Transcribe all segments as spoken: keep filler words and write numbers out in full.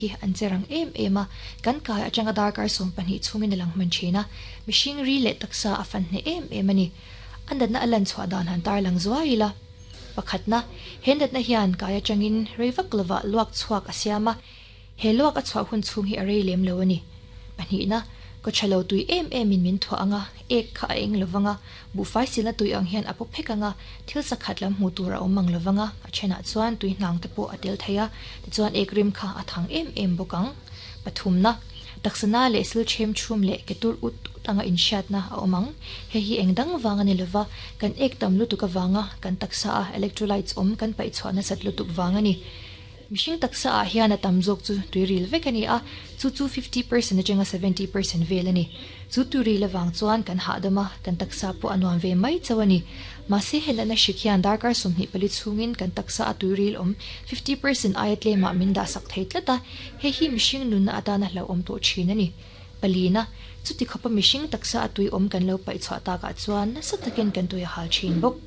Hi an che rang em em a, kan kai atanga darkar sawm pahnih chhungin a lang hman thin a, mihring ri leh taksa a fan hneh em em a ni. A natna a lan chhuah dan han tarlang zuai ila. Pakhatna, he natna hian kai atangin rei vak lovah luak chhuak a siam a, he luak a chhuah hun chhung hi a rei lem lo a ni. Pahnihna, kaw tha lo tui em emin min thuah ang a, ek kha a eng lovang a, buhfai silna tui ang hian a paw phek ang a, thil sakhat lam hmuh tur a awm ang lovang a, a thenah chuan tui hnang te pawh a tel thei a, tichuan ek rim kha a thang em em bawk ang. Pathumna, taksana leh sil them chhum leh ke tur ut ut anga inhriatna a awm ang. Hei hi eng dang vang a ni lova, kan ek tam lutuk avanga kan taksa a electrolytes awm kan paih chhuah nasat lutuk vang a ni. Mihring taksa ah hian a tam zawk chu tuiril vek a ni a, chu chu fifty percent atanga seventy percent vel a ni. Chu tuiril avang chuan kan hahdam a, kan taksa pawh a nuam ve mai chauh a ni. Mahse he natna hrik hian darkar sawmhnih pali chhungin kan taksa a tuiril awm fifty percent aia tlemah min dahsak thei tlat a, hei hi mihring nunna atana hlauhawm tawh thin a ni. Palina, chuti khawpa mihring taksa a tui awm kan lo paih chhuah takah chuan nasa takin kan tui a hal thin bawk.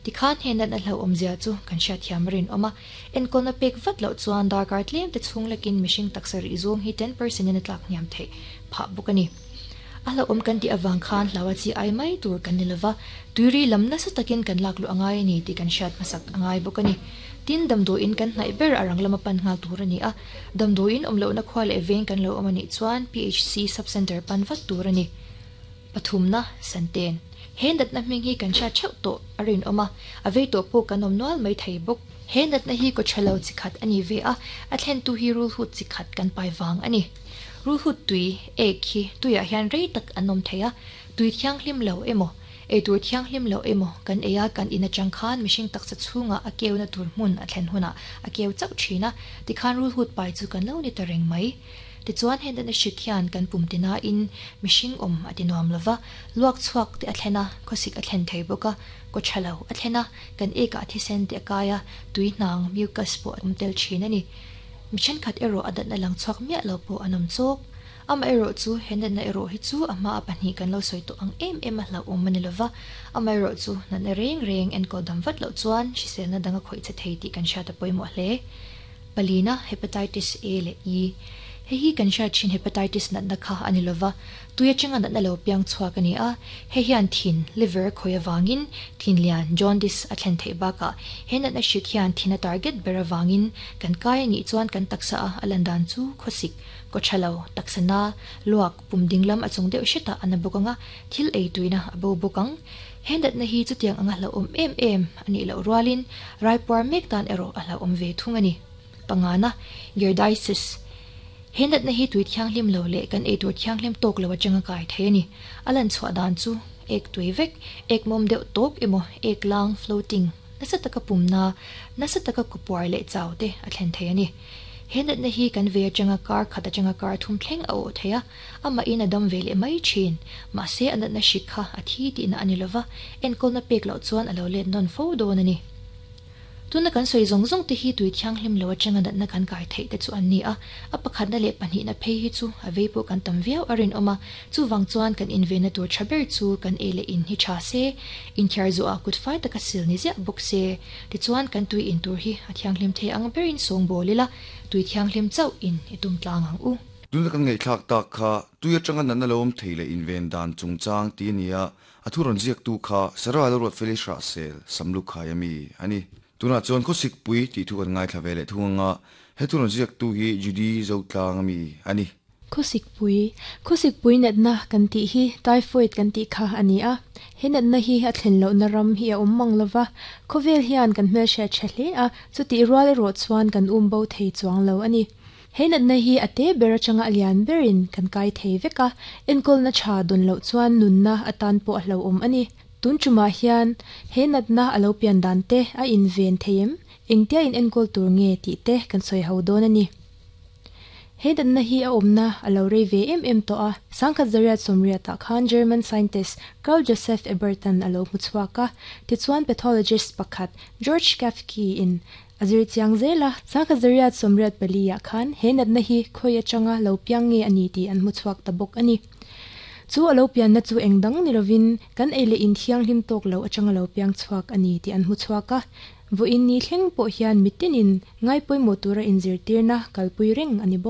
Tikhan he natna hlauhawmzia chu kan hriatthiam a rinawm a, enkawlna pek vat loh chuan darkar tlem te chhung lekin mihring taksa rih zawng hi ten percent in a tlak hniam theih phah bawk a ni. A hlauhawm kan tih avang khan hlau a chi ai mai tur kan ni lova, tuiri lam nasa takin kan lak luh a ngai a ni tih kan hriat hmasak a ngai bawk a ni. Tin, damdawiin kan hnaih ber a rang lama pan nghal tur a ni a, damdawiin awm lohna khua leh veng kan lo awm a nih chuan P H C sub-centre pan vat tur a ni. Pathumna, Santen. He natna hming hi kan hriat theuh tawh a rinawm a, a vei tawh pawh kan awm nual mai thei bawk. He natna hi kaw tha lo chi khat a ni ve a, a thlentu hi rulhut chi khat kan pai vang a ni. Rulhut tui, ek, hi tuiah hian rei tak an awm thei a, tui thianghlim lo emaw, eitur thianghlim lo emaw kan ei a, kan in atang khan mihring taksa chhungah a keuna tur hmun a thlen hunah a keu chauh thin a, tikhan rulhut pai chu kan lo ni ta reng mai. Tichuan he natna hrik hian kan pum tinain mihring awm a ti nuam lova, luak chhuak te a thlen a, khawsik a thlen thei bawk a, kaw tha lo a thlen a, kan ekah thisen te a kai a, tui hnang, mucus, pawh a awm tel thin a ni. Mi thenkhat erawh a natna lang chhuak miah lo pawh an awm chawk. Amaherawh chu he natna erawh hi chu a hma a pahnih kan lo sawi tawh ang em em a hlauhawm a ni lova, amaherawh chu natna reng reng enkawl dam vat loh chuan hriselna dang a khawih che thei tih kan hriat a pawimawh hle. Palina, Hepatitis A leh E. Hei hi kan hriat thin hepatitis natna kha a ni lova, tui atanga natna lo piang chhuak a ni a. Hei hian thin, liver, khawi avangin thin lian, jaundice, a thlen theih bakah he natna hrik hian thin a target ber avangin kan kai a nih chuan kan taksa a a lan dan chu khawsik, kaw tha lo, taksa na, luak, pum ding lam a chung deuh hretah a na bawk ang a, thil ei tuina a bo bawk ang. He natna hi chutiang anga hlauhawm em em a nih loh rualin raipuar mek tan erawh a hlauhawm ve thung a ni. Pangana, Giardiasis. He natna hi tui thianghlim lo leh kan eitur thianghlim tawk lo atanga kai thei a ni. A lan chhuah dan chu ek tui vek, ek mawm deuh tawk emaw ek lang, floating, nasa taka pumna, nasa taka kawpuar leh chau te a thlen thei a ni. He natna hi kan ve atanga kar khat atanga kar thum thleng a awh thei a, amahin a dam ve leh mai thin. Mahse a natna hrik kha a thi tihna a ni lova, enkawlna pek loh chuan a lo let nawn fo dawn a ni. Tuna kan sawi zawng zawng te hi tui thianghlim lo atanga natna kan kai theih te chu an ni a, a pakhatna leh pahnihna phei hi chu a vei pawh kan tam viau a rinawm a, chuvang chuan kan invenna tur tha ber chu kan ei leh in hi tha se, inthiar zuah kut fai taka sil ni ziah bawk se, tichuan kan tui in tur hi a thianghlim thei ang berin sawngbawl ila, tui thianghlim chauh in i tum tlang ang u. Tuna kan ngaihthlak tak kha tui atanga natna lo awm thei leh inven dan chungchang ti a ni a, a thu rawn ziaktu kha Sarah Lalruatfeli Hrahsel Samlukhai a mi a ni. Tunah chuan khawsikpui tih thu kan ngaithla ve leh thung anga he thu rawn ziaktu hi Judy Zotlang a mi a ni. Khawsikpui, Khawsikpui natna kan tih hi typhoid kan tih kha a ni a. He natna hi a thlen lohna ram hi a awm mang lova, khawvel hian kan hmelhriat tha hle a, chutih rual erawh chuan kan um bo thei chuang lo a ni. He natna hi a te ber atanga a lian berin kan kai thei vek a, enkawlna tha dawn loh chuan nunna atan pawh a hlauhawm a ni. Tun tumah hian he natna a lo pian dan te a inven thei em? Engtia in enkawl tur nge tih te kan sawi ho dawn a ni. He natna hi a awmna a lo rei ve em em tawh a, Sangkhat Zariat sawmriatah khan German scientist Carl Joseph Ebertan a lo hmu chhuak a, tichuan pathologist pakhat George Cafke in a zir chiang zel a, Sangkhat Zariat sawmriat pali-ah khan he natna hi khawi atanga lo piang nge a ni tih an hmu chhuak ta bawk a ni. Chu a lo pianna chu eng dang ni lovin kan ei leh in thianghlim tawk lo atanga lo piang chhuak a ni tih an hmu chhuak a. Vawiin ni thleng pawh hian mitinin ngai pawimawh tura inzirtirna kalpui reng a ni bawk.